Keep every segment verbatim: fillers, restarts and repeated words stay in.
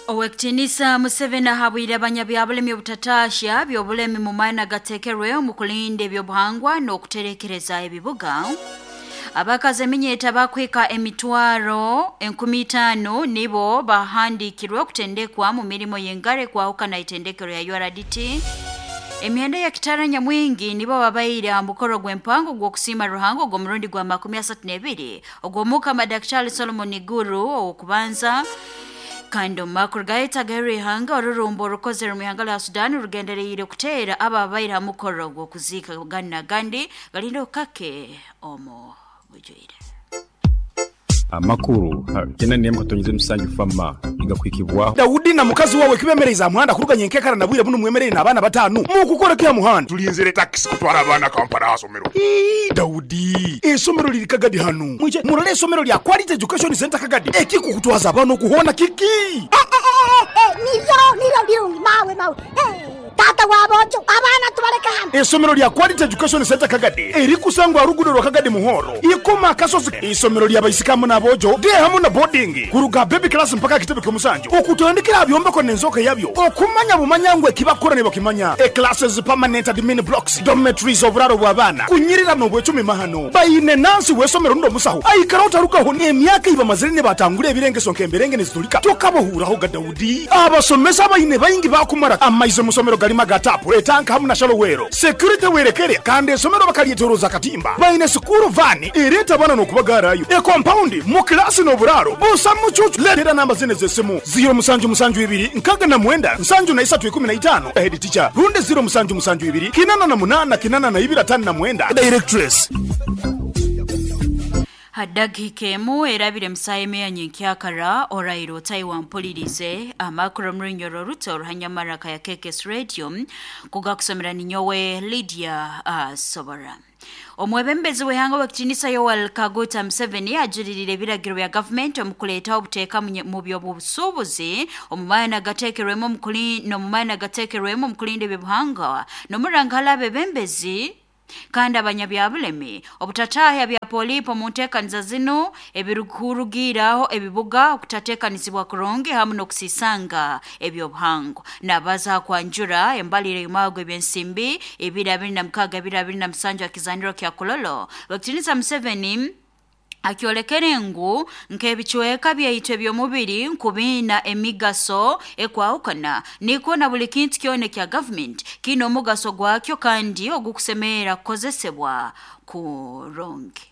Owekitinisa Museveni ahabwire abanyabyabulemi obutatasya byobulemi mu maana gatekerwe omu kulinda ebyobuhangwa n'okuterekereza ebibuga. Abakazi eminyeta bakwika emitwaro enkumi itaano nibo bahandikirwe okutendekwa mu mirimo y'engare kwahukana itendekero ya U R D T. Emyenda ya kitara nyamwingi nibo babaire aha mukoro gw'empango gw'okusiima Ruhanga ogw'omurundi gwa makumi asatu n'ebiri ogw'omukama Daktari Solomon Iguru ow'okubanza. Kandi omu makuru gayetagayo ihanga orurumbo orukozere mu ihanga lya Sudan rugendereire kuteera ababaire aha mukoro gw'okuziika gana gandi galindo kake omu bujwire. Amakuru kena niyemu katonyize musanju fama igakwikibwaho Daudi na mukazi wawe kibemereza muhanda kuruganya enkekara na bwire buno mwemerere n'abaana batanu mukukora kya muhanda tulinzire taxi kutwara abaana Kampala asomero. Ii Daudi esomero liri Kagadi hano mwije murole esomero lya Quality Education Center Kagadi ekikukutwaza abana okuhona kiki eh, eh, eh, eh, niro niro birungi mawe mawe eh. Tata wabojo abana tubareka hano. Esomero lya Quality Education Center Kagadi erikusangwa rugudo rwa Kagadi Muhoro ikoma kasozi. Isomero lya baisikamu n'abojo de hamu na boarding kuruga baby class mpaka kitebe kyomusanju okutandikira byombeko n'enzoka yabyo okumanya bumanyangwe kibakora ne bakimanya e classes permanent admin blocks dormitories oburaro bw'abaana kunyirira n'obwecumi mahano bayine nansi wesomero ndo musaho aikara utarukaho n'emyaka iba mazire ne batangura ebirengeso nk'emberenge nezitulika tokabohuraho ga Daudi abasomesa bayine bayingi bakumara amaize musomero galima gatapu etanka hamu na shalowero security werekere kandi esomero bakalietoroza katimba bayine sukuru vani ereta bana n'okubagarayo e compound mu klasi n'oburaro busa mucucu letera namba zine z'essimu zero musanju musanju ibiri nkaga na mwenda nsanju na isatu ikumi na itano head teacher runde zero musanju musanju ibiri kinana na munana kinana na ibiri atano na mwenda directress. Hadagike emu erabire musaye meya nyenkyakara orairo Taiwan mpulirize amakuru murunyoro ruto ruhanyamaraka ya K K S Radio kugakusomera ninyowe Lydia uh, Sobora. Omwebembezi w'ihanga w'ekitinisa Yoweri Kaguta Museveni ajuririre ebiragiro bya gavumenti omu kuleeta obuteeka mu by'obusuubuzi omu maana gateekerwemu omu maana gateekerwemu omu kulinda ebyobuhangwa n'omurangala abebembezi kandi abanyabyabulemi obutatahya bya polipo mu nteekaniza zino ebirikurugiiraho ebibuga okutateekanisibwa kurungi hamu n'okusisanga ebyobuhangwa. Nabaza kwanjura embalire y'omwago ebyensimbi ebiri abiri na mukaaga ebiri abiri na musanju akizaniro kya Kololo. Wakitinisa Museveni akyolekere ngu nk'ebicweka byaitu eby'omubiri nkubiina emigaso ekwahukana niko na buli kintu kyona kya gavumenti kiine omugaso gwakyo kandi ogukusemerera kukozesebwa kurungi.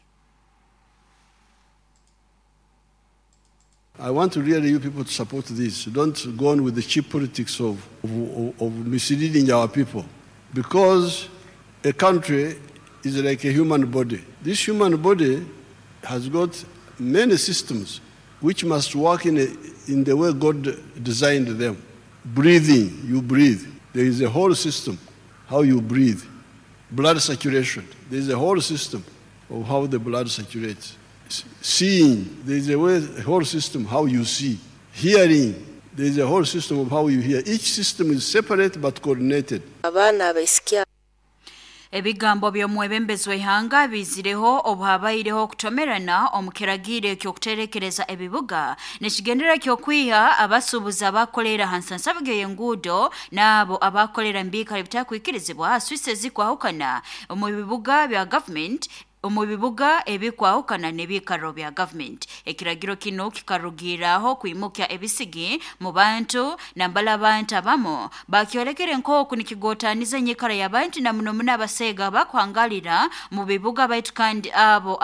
I want to really you people to support this. Don't go on with the cheap politics of, of, of misleading our people, because a country is like a human body. This human body has got many systems which must work in, a, in the way God designed them. Breathing, you breathe. There is a whole system how you breathe. Blood circulation, there is a whole system of how the blood circulates. Seeing, there is a, way, a whole system how you see. Hearing, there is a whole system of how you hear. Each system is separate but coordinated. Ebigambo by'omwebembezi w'ihanga bizireho obuhabaireho okutomerana omu kiragiro eky'okuterekereza ebibuga nekigendera ky'okwiha abasuubuzi abakolera ha nsansabigo y'enguudo n'abo abakolera mu biikaro ebitakwikirizibwa swisi ezikwahukana omu bibuga bya gavumenti omu bibuga ebikwahukana n'ebiikaro bya gavumenti. Ekiragiro kino kikarugiiraho kwimukya ebisigi mu bantu nambala abantu abamu bakyolekere nk'oku nikigotaniza enyikara y'abantu na muno muno abaseega bakuhangalira mu bibuga baitu kandi abo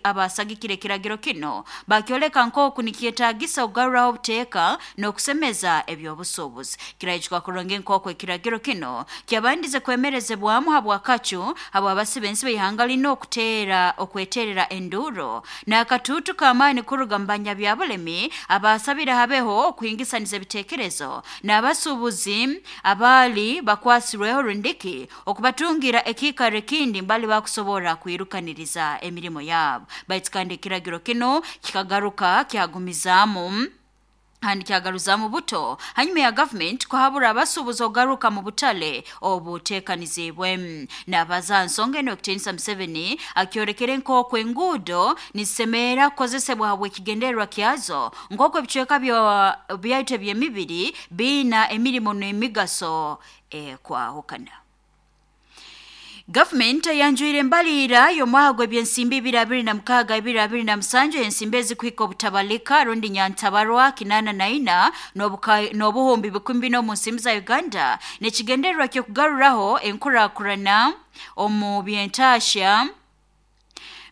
abasagikire ekiragiro kino bakyoleka nk'oku nikyetaagisa okugaruraho obuteeka n'okusemeza ebyobusuubuzi. Kiraijuka kurungi nk'oku ekiragiro kino kyabandize kwemerezebwamu habwakacu habw'abasibe ensi b'ihanga lino okute okweterera enduro n'akatuutu k'amaani kuruga mu banyabyabulemi abasabira habeho okuhingisaniza ebiteekerezo n'abasuubuzi abaali bakwasirweho rundiki okubatungira ekiikaro ekindi mbali bakusobora kwirukaniriza emirimo yaabo. Baitu kandi ekiragiro kino kikagaruka kyagumizaamu Kandi kyagaruzamu buto hanyuma ya government kuhabura abasuubuzi ogaruka mu butale obuteekanizibwe. Nabaza nsonga eno ekitiinisa Museveni akyorekere nk'oku enguudo nizisemerera kukozesebwa habw'ekigendererwa kyazo, nk'oku ebicweka byaitu eby'emibiri biina emirimo n'emigaso ekwahukana. Government yanjwire embalira y'omwaka gw'ebyensimbi ibiri abiri na mukaaga ibiri abiri na musanju ensimbi ezikuhika obutabalika rundi nyantabarwa kinana na ina n'obuhumbi bikumi bina omu nsimbi za Uganda n'ekigendererwa ky'okugaruraho enkurakurana omu by'entaasya,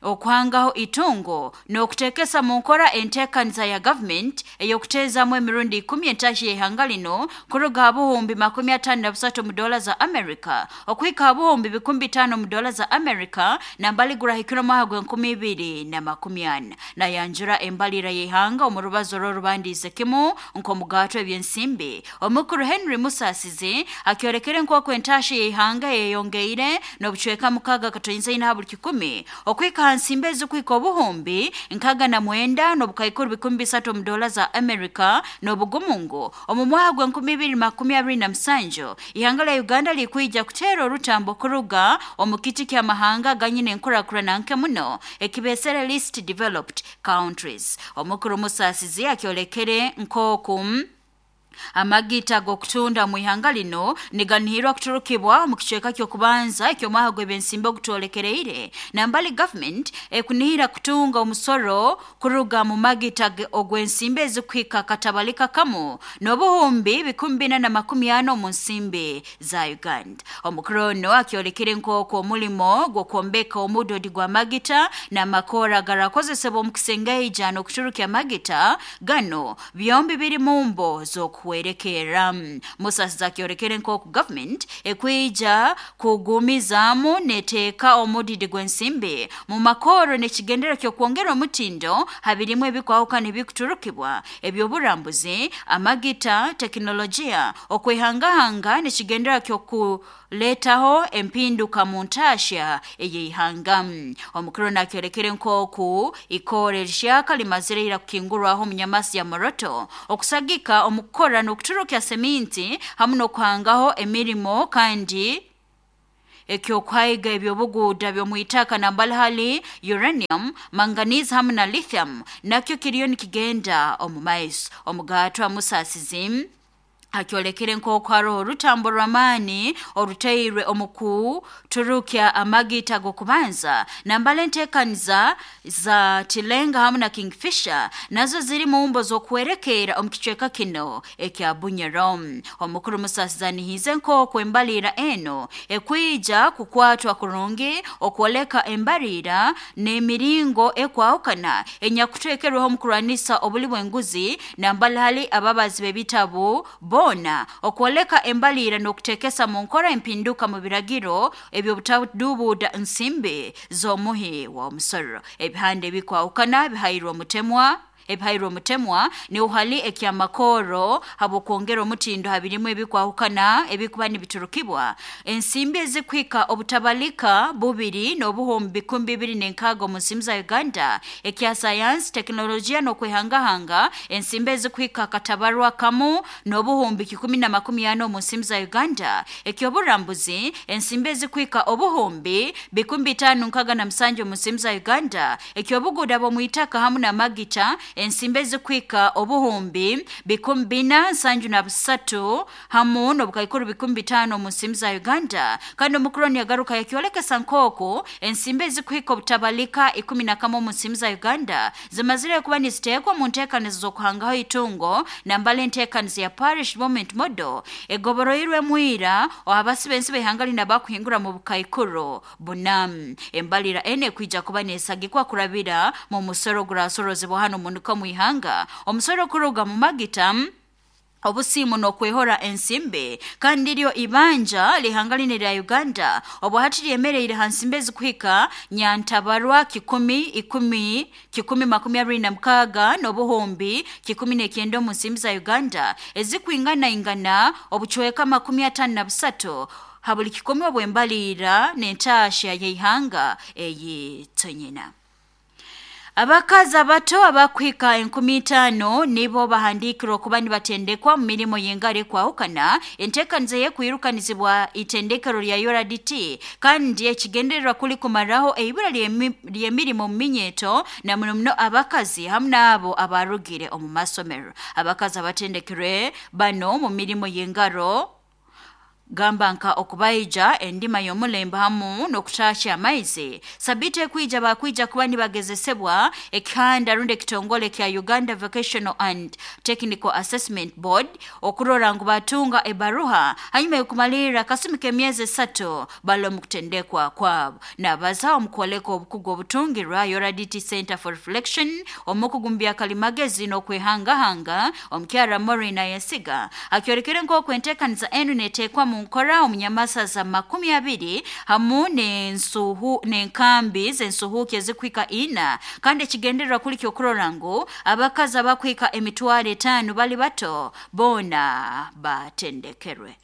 okuhangaho itungo n'okuteekesa mu nkora enteekaniza ya government ey'okuteezamu emirundi ikumi entaasya y'ihanga lino kuruga ha buhumbi makumi ataano na busatu mu dola za America okuhika ha buhumbi bikumi bitaano mu dola za America nambali gurahikire omwaka gw'enkumi ibiri na makumi ana. Nayanjura embalira y'ihanga omu rubazo rw'orubandiize kimu nk'omugaatwa eby'ensimbi. Omukuru Henry Musasizi akyorekere nk'oku entaasya y'ihanga yeyongeire n'obucweka mukaaga katoinza ina ha buli kikumi okuhika nsimbi ezikuhika obuhumbi nkaga na mwenda n'obukaikuru bikumi bisatu omu dola za America n'obugumungu omu mwaka gw'enkumi ibiri makumi abiri na musanju. Ihanga lya Uganda likwija kuteera orutambo kuruga omu kiti ky'amahanga ganyine enkurakurana nke muno ekibesere least developed countries. Omukuru Musasizi akyolekere nk'oku amagita g'okutunda mu ihanga lino niganihirwa kuturukibwa mu kicweka ky'okubanza eky'omwaka gw'ebyensimbi ogutwolekereire, nambali government ekunihira kutunga omusoro kuruga mu magita ogw'ensimbi ezikuhika katabalika kamu n'obuhumbi bikumi bina na makumi ana omu nsimbi za Uganda. Omukuru ono akyolekere nk'oku omulimo gw'okwombeka omudodi gw'amagita n'amakora garakozesebwa omu kusengeija n'okuturukya amagita gano byombi biri mu mbo z'oku kuwerekera. Musasizi akyorekere nk'oku government ekwija kugumizaamu neteeka omudidi gw'ensimbi mu makoro n'ekigendero ky'okwongera omutindo habirimu ebikwahukana ebikuturukibwa eby'oburambuzi, amagita, tekinologiya, okwehangahanga n'ekigendero ky'okuleetaho empinduka mu ntaasya ey'ihanga. Omukuru nakyorekere nk'oku ikoora erihyaka limazire ira kukingurwaho omunyamasi ya Moroto okusagika omu kukora n'okuturukya seminti hamu n'okuhangaho emirimo kandi ekyokuhaiga ebyobuguuda by'omwitaka nambali hali uranium, manganese hamu na lithium nakyo kiriyo nikigenda omu maiso. Omugaatwa Musasizi akyolekere nk'oku haroho orutambo rw'amaani oruteirwe omu kuturukya amagita g'okubanza nambala enteekaniza za Tilenga hamu na Kingfisher nazo ziri mu mbo z'okuwerekeera omu kicweka kino ekya Bunyoro. Omukuru Musasizi anihize nk'oku embalira eno ekwija kukwatwa kurungi okwoleka embalira n'emiringo ekwahukana enyakuteekerweho omu kurwanisa obuli bw'enguzi nambala hali ababazi b'ebitabu bona okwoleka embalira n'okuteekesa mu nkora empinduka mu biragiro eby'obutadubuuda nsimbi z'omuhi w'omusoro. Ebihande ebikwahukana bihairwe omutemwa ebihairwe omutemwa ni uhali ekyamakoro habw'okwongera omutindo habirimu ebikwahukana ebikuba nibiturukibwa. Ensimbi ezikuhika obutabalika bubiri n'obuhumbi bikumi bibiri n'enkaaga omu nsimbi za Uganda ekya sayansi, tekinologiya n'okwehangahanga ensimbi ezikuhika akatabarwa kamu n'obuhumbi kikumi na makumi ana omu nsimbi za Uganda eky'oburambuzi ensimbi ezikuhika obuhumbi bikumi bitaano nkaaga na musanju omu nsimbi za Uganda eky'obuguuda bw'omwitaka hamu n'amagita ensimbi ezikuhika obuhumbi bikumi bina nsanju na busatu hamu n'obukaikuru bikumi bitaano omu nsimbi za Uganda. Kandi omukuru yagaruka yakyolekesa nk'oku ensimbi ezikuhika obutabalika ikumi na kamwe omu nsimbi za Uganda zimazire kuba niziteekwa mu nteekanizo z'okuhangaho itungo nambala enteekanizo ya Parish Development Model egoboroirwe mwira abasi b'ensi b'ihanga lino abakuhingura mu bukaikuru buna. Embalira ene ekwija kuba nesagikwa kurabira mu musoro gurasorozebwa hano munuka mu ihanga omusoro kuruga mu magita obusimu n'okwehora ensimbi kandi ryo ibanja lihanga line lya Uganda obwahati lyemereire ha nsimbi ezikuhika nyantabarwa kikumi ikumi kikumi makumi abiri na mukaaga n'obuhumbi kikumi n'ekyenda omu nsimbi za Uganda ezikwingana ingana obucweka makumi ataano na busatu ha buli kikumi obw'embalira n'entaasya y'ihanga eyitonyina. Abakazi abato abakuhika enkumi itaano nibo bahandikirwe okuba nibatendekwa mu mirimo y'engaro ekwahukana enteekaniza y'ekwirukanizibwa itendekero lya U R D T kandi ekigendererwa kuli kumaraho eibura ly'emirimo mu minyeto na muno muno abakazi hamu n'abo abarugire omu masomero. Abakazi abatendekirwe bano mu mirimo y'engaro gamba nka okubaija endima y'omulembe hamu n'okutasha amaizi sabite kwija bakwija kuba nibagezesebwa ekihanda rundi ekitongole kya Uganda Vocational and Technical Assessment Board okurora ngu batunga ebaruha hanyuma y'okumalirira akasumi k'emyezi esatu bali omu kutendekwa kwabo. Nabaza omukwoleka obukugu obutungirwa U R D T Center for Reflection omukugu mu byakalimagezi n'okwehangahanga omukyara Maureen Ayesiga akyorekere nk'oku enteekaniza enu neteekwa mu nkora omunyamasaza makumi abiri hamu n'ensuhu n'enkambi z'ensuhuki ezikuhika ina kandi ekigendererwa kuli ky'okurora ngu abakazi abakuhika emitwaro etaano bali bato boona batendekerwe.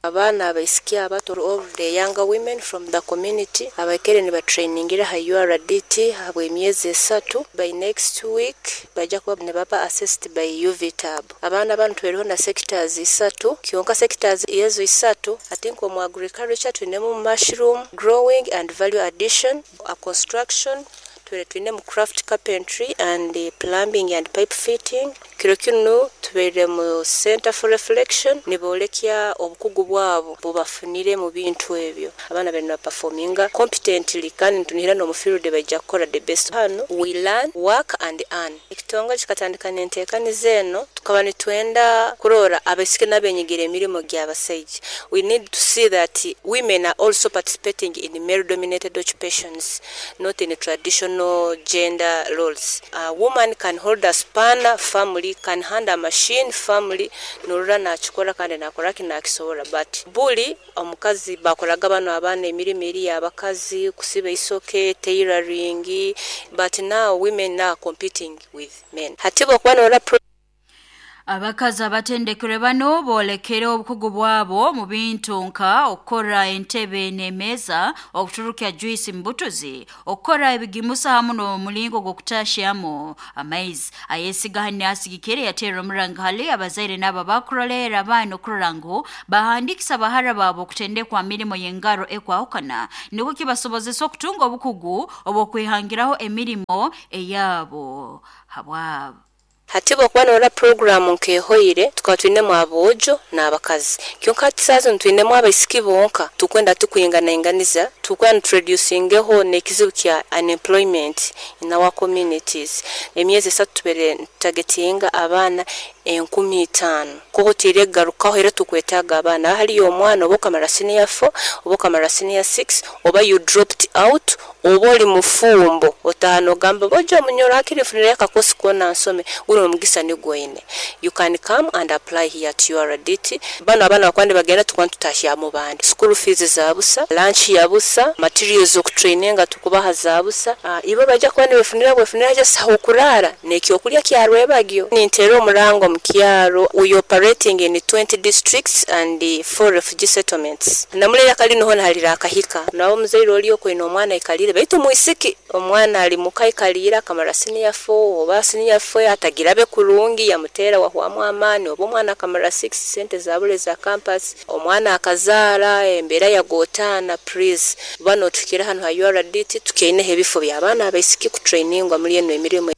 Abaana abaisiki abato, all the younger women from the community abakere nibatrainingira ha U R D T habw'emyezi esatu. By next week bajja kuba nibaba assessed by U V T A B. Abaana bano tweriho na sectors isatu, kyonka sectors ezo isatu I think omu agriculture twinemu mushroom growing and value addition, a construction twere twinemu craft carpentry and uh, plumbing and pipe fitting. Kiro kinu tubeire mu Center for Reflection nibolekya obukugu bwabo bubafunire mu bintu ebyo. Abaana bari na performinga competently kandi tunihira no mu field bajja kukora the best. Hano we learn, work and earn. Ekitongole kikatandika n'enteekaniza eno tukaba nitwenda kurora abaisiki n'abenyigira emirimo gy'abasaija. We need to see that women are also participating in male dominated occupations, not in traditional gender roles. A woman can hold a spanner family, can hand a machine family, norora nakikora kandi nakora kinakisobora. But buli omukazi bakoraga bano abaana emirimo eri abakazi kusiba isoke, tailoring, but now women are competing with men. Hati bokuba norora Abakazi abatendekere bano boolekere obukugu bwabo mu bintu nka okukora entebe n'emeeza, okuturukya juice mbutuzi, okukora ebigimusa hamu n'omulingo gw'okutashamu amaizi. Ayesiga hane asigikire yateera omuranga hali abazaire n'abo abakurolera abaana okurora ngu bahandikisa bahara baabo okutendekwa mirimo y'engaro ekwahukana nikwo kibasobozesa okutunga obukugu obw'okwehangiraho emirimo eyabo habwabo. Hati bokuba norora programu nkehoire tukaba twinemu aboojo n'abakazi, kyonka hati saazo twinemu abaisiki bonka tukwenda tukwinganainganiza tukwenda tureducingeho n'ekizibu kya unemployment in our communities. Emyezi esatu tubere targetinga abaana enkumi itaano kuko tiregarukaho era tukwetaaga abaana. Haliyo omwana oba okamara senior four oba okamara senior six oba you dropped out oba oli mufumbo otaano ogamba bojo omunyoro hakiri nfunire akakosi kona nsome guno omugisa nigwoine. You can come and apply here at U R D T. Bano abaana bakwandi bagenda tukwandi tutahya mu bandi. School fees za busa, lunch ya busa, materials okutraininga tukubaha za busa. Uh, ibo bajja kuba nibefunira bwefunira just aho kurara n'ekyokulya kyarwebagyo. Nintera omurango mu kyaro. We operating in twenty districts and four refugee settlements. Namulera kali noho halira akahika. Nawo omuzaire oli okwina omwana ikalire baitu muisiki omwana ali muka ikalira akamara senior four oba senior four atagirabe kurungi yamutera wahwamu amaani oba omwana akamara six sente zabule za campus omwana akazaara embeera yagotana. Please bano tukira hano ha U R D T tukeineho ebifo by'abaana abaisiki kutrainingwa muri eno emirimo.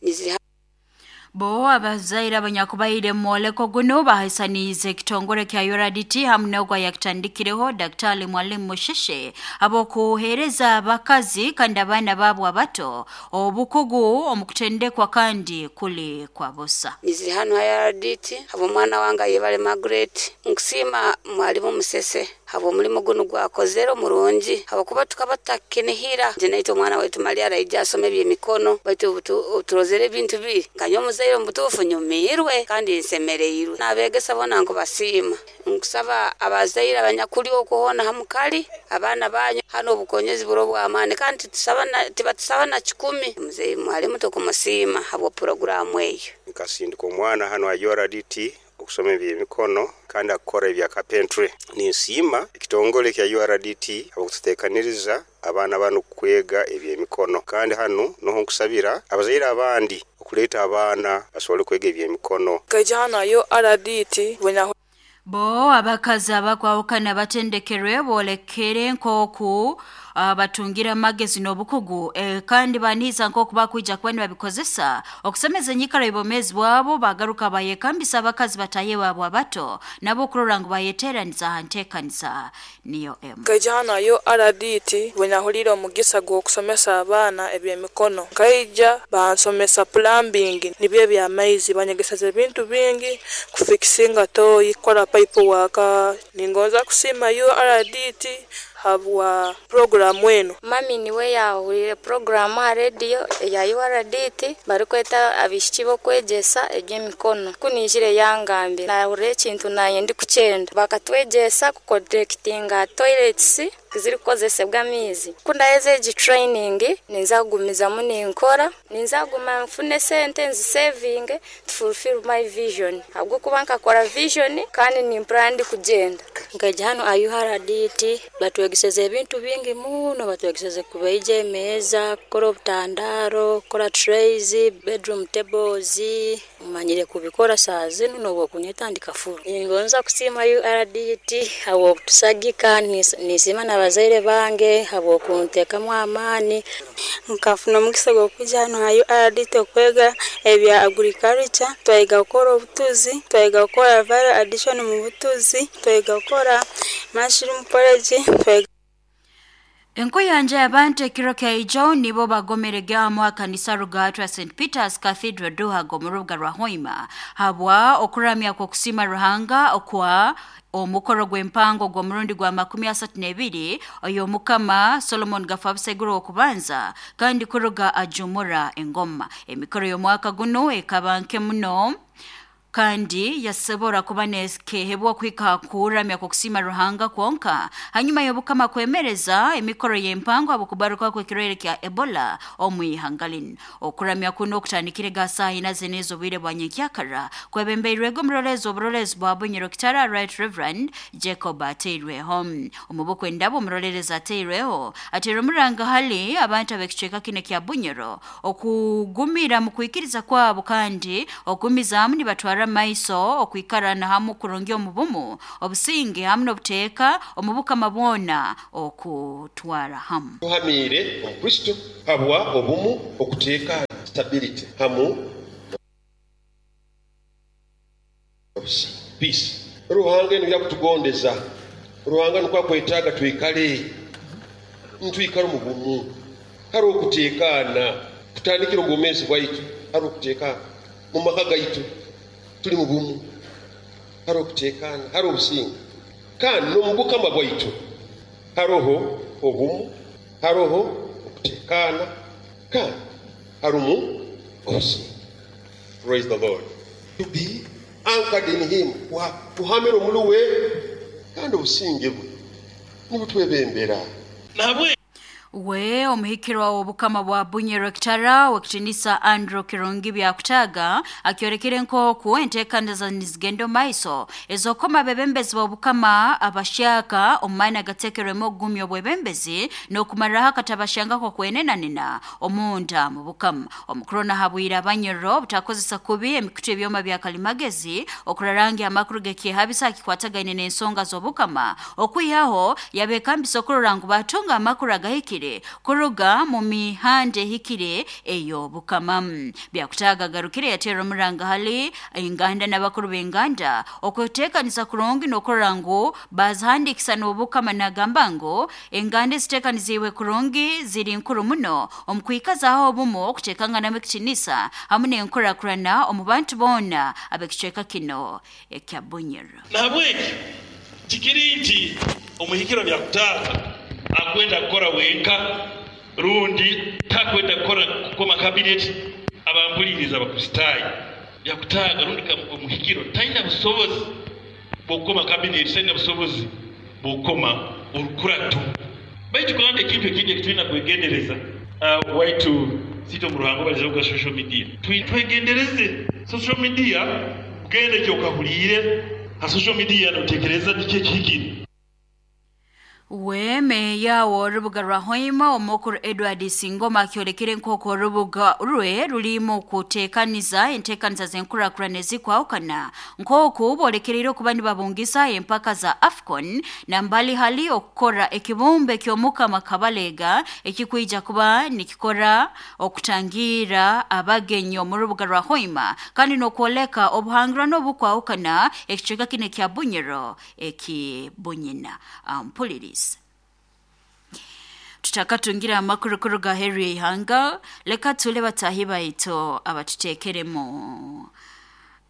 Bo abazaire abanyakubaire mwoleko guno bahaisaniize ekitongole kya U R D T hamu n'ogwa yakitandikireho Daktari Mwalimu Musheshe abokuheereza abakazi kandi abaana baabo abato obukugu omukutendekwa kandi kuli kwa busa. Niziri hano ha U R D T habo omwana wange yebale Margaret nkusima Mwalimu Musese habo omulimu guno gwakozere omurungi habokuba tukaba tutakinihira nje naitwe omwana waitu Maria araija asome ebyemikono baitu turozere ebintu biri nkanye omuzaire omubutuufu nyumirwe kandi nsemereirwe n'abeegesa bona nkubasiima. Nkusaba abazaire abanyakuli okuhona hamukali abaana banyu hano obukonyezi buro bw'amaani kandi tibatusaba na kikumi. Muzeyi Mwalimu tukumusiima habwa puroguramu eyo. Nkasindika omwana hano ha U R D T okusoma ebyemikono kandi akukora ebya carpentry. Ninsiima ekitongole kya U R D T abakututeekaniriza abaana banu kwega ebyemikono. Kandi hanu noho nkusabira abazaire abandi okuleeta abaana basobole kwega ebyemikono. Nkaija hanu ayo R D T bwe Bo abakazi abakwawukana batendekerwe bolekere nkoku uh, batungira amagezi n'obukugu e, kandi baniza nkoku bakwija kuba nibabikozesa okusemeza enyikara y'obwomeezi bwabo bagaruka bayekambisa abakazi bataye babo abato nabo okurora ngu bayeteeraniza aha nteekaniza niyo emu. Nkaija hanu ayo R D T bwe nahurire omugisa gw'okusomesa abaana eby'emikono. Nkaija bansomesa plumbing nibyo eby'amaizi, banyegeseza ebintu bingi, kufikisinga toyi, kukora pipe waka. Ningonza kusiima U R D T habwa programu eno. Mami niwe yahurire programu ha radio eya U R D T barikweta abishiki bokwegyesa eby'emikono. Kunijire yangambe nahurira ekintu naye ndi kukyenda. Bakatwegyesa kuconnectinga toilets zirikukozesebwa amaizi. Kundaheza egi training ninza kugumizamu ninkora, ninza kuguma nfune sente nzisevinge to fulfill my vision. Habwokuba nkakora vision kandi nimpurira ndi kugyenda. Nkaija hanu U R D T batwegeseze ebintu bingi muno, batwegeseze kubeija emeeza, kukora obutandaro, kukora trays, bedroom tables, manyire kubikora saa zinu n'obwokunyeta ndikafuru. Ningonza kusiima U R D T habw'okutusagika, nisiima n'abazaire bange habw'okunteekamu amaani. Nkafuna omugisa gw'okwija hanu ha U R D T okwega ebya agriculture, twayega kukora obutuzi, twayega kukora value addition mu butuzi, twayega kukora mushroom porridge, twayega. Enkuyanja y'abantu ekiro kya nibo bagomerege mu kanisa rugatwa Saint Peter's Cathedral Duhago mu rubuga rwa Hoima habwa okuramya kw'okusiima Ruhanga okwa omukoro gw'empango gw'omurundi gwa makumi asatu n'ebiri oyo mukama Solomon Gafabuseguro okubanza kandi kuruga ajumura engoma. Emikoro y'omwaka guno ekaba nke muno kandi yasobora kuba nekehebwa kwika kuramya kukusima Ruhanga kwonka hanyuma y'obukama kwemereza emikoro y'empango abukubaruka kw'ekirwaire kya Ebola omwihangalin. Okuramya kuno okutandikire ga saa ina zenezo bwire bwa nyenkyakara kwebembeirwego omurolezo oburolezo bwa Bunyoro Kitara Right Reverend Jacob Ateirweho. Omubukwe ndabo omurolereza Ateirweho ateire omuranga hali abantu ab'ekicweka kino kya Bunyoro okugumira mu kwikiriza kwabo kandi okugumizamu nibatwara maiso okwikarana hamu kurungi omubumu obusinge hamu n'obuteeka omubukama bwona okutwara hamu. Tuhamire omukristo habwa obumu okuteeka stability hamu peace. Ruhanga eno yakutugondeza, Ruhanga nukwo akwetaaga twikale ntwikale omu bumu, hariho okuteekaana kutandikira omu bwomeezi bwaitu, hariho okuteekaana mu maka gaitu tuli mu bumu, hariho okuteekaana, hariho obusinge. Kandi n'omu bukama bwaitu hariho obumu, hariho okuteekaana, kandi harimu obusinge. Praise the Lord. To be anchored in him, kuhamira omuli we kandi obusinge bwe nibutwebembera. We omuhikirwa w'obukama bwa Bunyoro Kitara w'ekitinisa Andrew Kirungi Byakutaga akyorekere nk'oku enteekaniza nizigenda maiso ezokoma abebembezi b'obukama abashyaka omu maani agateekerwemu okugumya obwebembezi n'okumariraho akatabashangako kwenenanena omunda mu bukama. Omukuru nahabwire Abanyoro obutakozesa kubi emikutu ebyoma bya kalimagezi okurarangya amakuru g'ekyehabisa akikwatagaine n'ensonga z'obukama okwihaho yabekambisa okurora ngu batunga amakuru agahikire kuruga mu mihanda ehikire ey'obukama. Byakutaga garukire yateera omuranga hali enganda n'abakuru b'enganda okuteekanisa kurungi n'okurora ngu bazihandikisa n'obukama nagamba ngu enganda eziteekaniziibwe kurungi ziri nkuru muno omu kwikazaho obumu okuteekanganamu ekitinisa hamu n'enkurakurana omu bantu boona ab'ekicweka kino ekya Bunyoro. Nahabweki kikiri nti omuhikiro Byakutaga akwenda kukora wenka rundi takwenda kukora kukoma cabinet abambuliriza abakristaayo. Byakutaga rundi omuhikiro talina busobozi bw'okukoma cabinet, talina busobozi bw'okukoma orukurato. Baitu kandi ekintu ekindi ekitulina kwegendereza uh, waitu sito mu ruhango baliza kuga social media, twegendereze social media, kugenda ekyo okahuliire ha social media notekereza niki ekihikire. We meya w'orubuga rwa Hoima omukuru Edward Singoma akyolekere nk'oku orubuga rwe rurimu kuteekaniza enteekaniza z'enkurakurana ezikwahukana nk'oku bolekereire okuba nibabungisa empaka za AFCON na mbali hali okukora ekibumbe ky'omukama Kabalega ekikwija kuba nikikora okutangira abagenyi omu rubuga rwa Hoima kandi n'okwoleka obuhangirano obukwahukana ekicweka kinu ekya Bunyoro ekibunyina. Mpuliriza tutakatungira amakuru kuruga heru y'ihanga, leka tule batahi baitu abatutekeremu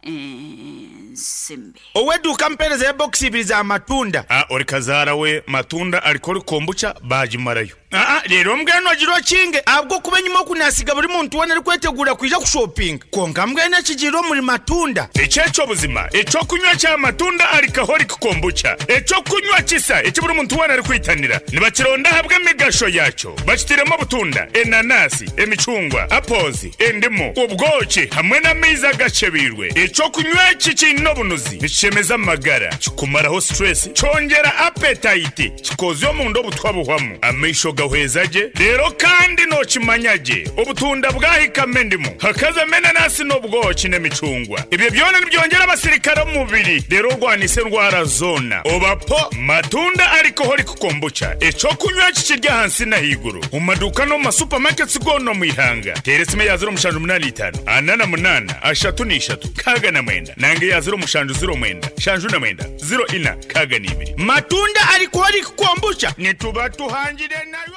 ensimbi. Oweduka mpereza ya box ibiri za matunda. Ah, ori kazara we matunda alikori kombucha bajimarayo. Ah, rero mbweno agiro kinge abwo kuba nyuma kunasiga buri muntu wena ari kwetegura kwija kushopping. Konka mbwene kigiro muri matunda. Echecho buzima, echo kunywa cha matunda alcoholic kombucha. Echo kunywa kisa ekiburi muntu wena ari kwitanira. Nibakironda habwe emigasho yacho. Bakitiremo butunda, enanasi, emicungwa, apples, endimu, ubwoki hamwe n'amaizi agacebirwe. Echo kunywa kikino bunuzi nikishemeza amagara, kikumaraho stress, cyongera appetite, kikozyo mu ndo butwabuhwamu. Amaisho gahwezaje rero kandi nokimanyaje obutunda bwahikame ndimu hakaza menanasi n'obwoki n'emicungwa. Ibyo byona nibyongera abasirikare mu mubiri rero rwanise ndwara zona. Obapo matunda alcoholic kombucha echo kunywa kikirya hansi na higuru mu maduka no mu supermarkets gono mu ihanga. Teresime ya zero mushanju munani itanu anana munana ashatu n'ishatu kaga na mwenda nange ya zero mushanju zero mwenda shanju na mwenda zero ina kaga n'ibiri. Matunda alcoholic kombucha nituba tuhangire nayo.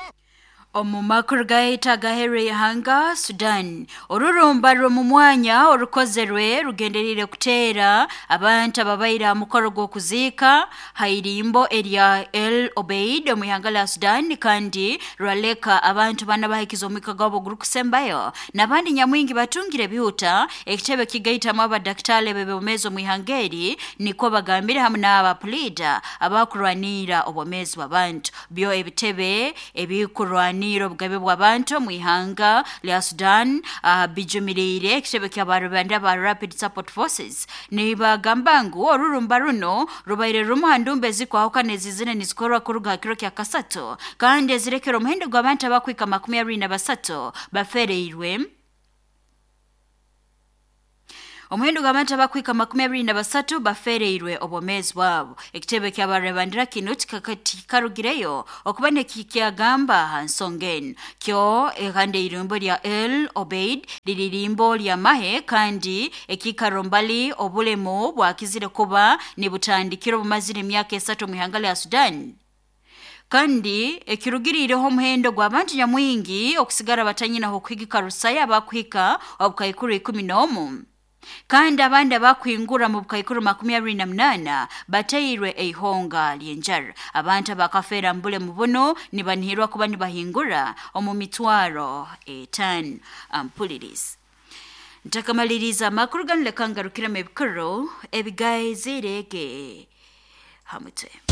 Omu makuru gaita gahere ihanga Sudan orurumba rwo mwanya orukozerwe rugenderire kuteera abantu ababaira mukoro gw'okuziika hairimbo erya El Obeid omu ihanga la Sudan kandi rwaleka abantu bana bahikiza omwika gwabo gurukusembayo n'abandi nyamwingi batungire bihuta. Ekitebe kigaitamu abadaktale bebomezi omu ihanga eri nikwo bagambire hamwe n'abapolida abakurwanira obwomezi bw'abantu. Byo ebitebe ebikurwanira niro bugabe bw'abantu mu ihanga lya Sudan uh, bijumirire ekitebe ky'abarubanda ba Rapid Support Forces nibagamba ngu orurumba runo rubaire rumu handumbe zikwahukana ezizine nizikorwa kuruga kiro kya kasato kandi ezirekera omuhendo gw'abantu abakwika makumi abiri na basatu bafereirwe. Omuhendo gw'abantu abakwika makumi abiri na basatu bafereirwe obwomezi bwabo. Ekitebe ky'abarebandira kino kikarugireyo okuba nekikyagamba ha nsonga eno. Kyo kandi irimbo lya El Obeid liri limbo lya mahe kandi ekikaro mbali obulemu bwakizire kuba nibutandikira obumazire emyaka esatu mu ihanga lya Sudan. Kandi ekirugirireho omuhendo gw'abantu nyamwingi okusigara batanyina okuhigika rusaya abakuhika obukaikuru ikumi n'omu. Kandi abandi abakwingura mu bukaikuru makumi abiri na munana bateirwe eihonga ly'enjara. Abantu abakafeera mbule mu buno nibanihirwa kuba nibahingura omu mitwaro etaano. Ampuliriza ntakamaliriza amakuru ganu leka ngarukiremu ebikuru ebigaizirege hamutwe.